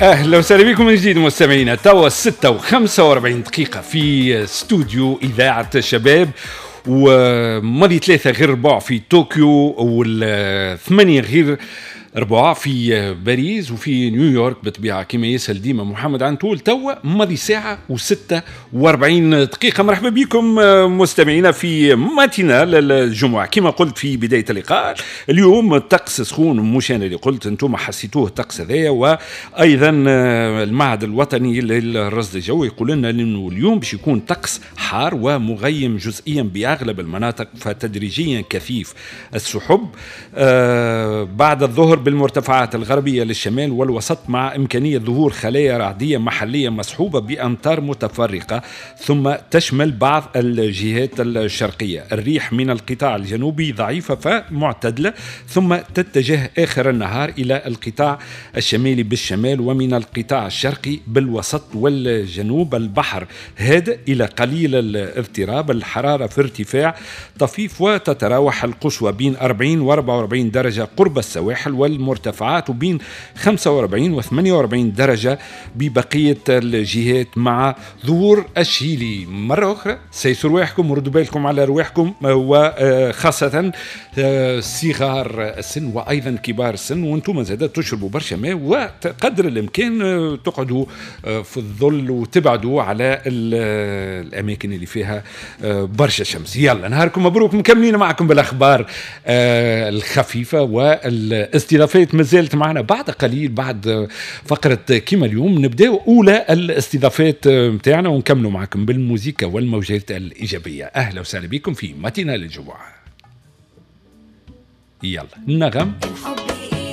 اهلا وسهلا بكم من جديد مستمعينا. توا 6:45 في استوديو اذاعة الشباب، وماضي 2:45 في طوكيو، و7:45 في باريس، وفي نيويورك بطبيعة كما يسأل ديما محمد عنتول. توا ماضي 1:46. مرحبا بكم مستمعينا في matinale الجمعة. كما قلت في بداية اللقاء، اليوم الطقس سخون، مش أنا اللي قلت، أنتم حسيتوه الطقس هذايا. وأيضا المعهد الوطني للرصد الجوي يقول لنا أنه اليوم باش يكون طقس حار ومغيم جزئيا بأغلب المناطق، فتدريجيا كثيف السحب بعد الظهر بالمرتفعات الغربية للشمال والوسط، مع إمكانية ظهور خلايا رعدية محلية مصحوبة بأمطار متفرقة، ثم تشمل بعض الجهات الشرقية. الريح من القطاع الجنوبي ضعيفة فمعتدلة، ثم تتجه آخر النهار إلى القطاع الشمالي بالشمال، ومن القطاع الشرقي بالوسط والجنوب. البحر هادئ إلى قليل الاضطراب، الحرارة في ارتفاع طفيف، وتتراوح القصوى بين 40 و 44 درجة قرب السواحل والمرتفعات، وبين 45 و 48 درجة ببقية الجهات، مع ظهور الشيلي. مرة أخرى سيسوا رواحكم وردوا بالكم على رواحكم، وخاصة صغار السن وأيضا كبار السن، وانتم زادة تشربوا برشا ماء، وقدر الإمكان تقعدوا في الظل وتبعدوا على الأماكن اللي فيها برشا شمس. يلا نهاركم مبروك، مكملين معكم بالأخبار الخفيفة والاستضافات مازالت معنا بعد قليل. بعد فقرة كيما اليوم نبداو أولى الاستضافات متاعنا ونكملوا معكم بالموسيقى والموجات الإيجابية. أهلا وسهلا بكم في matinale الجمعة. يلا النغم. الحب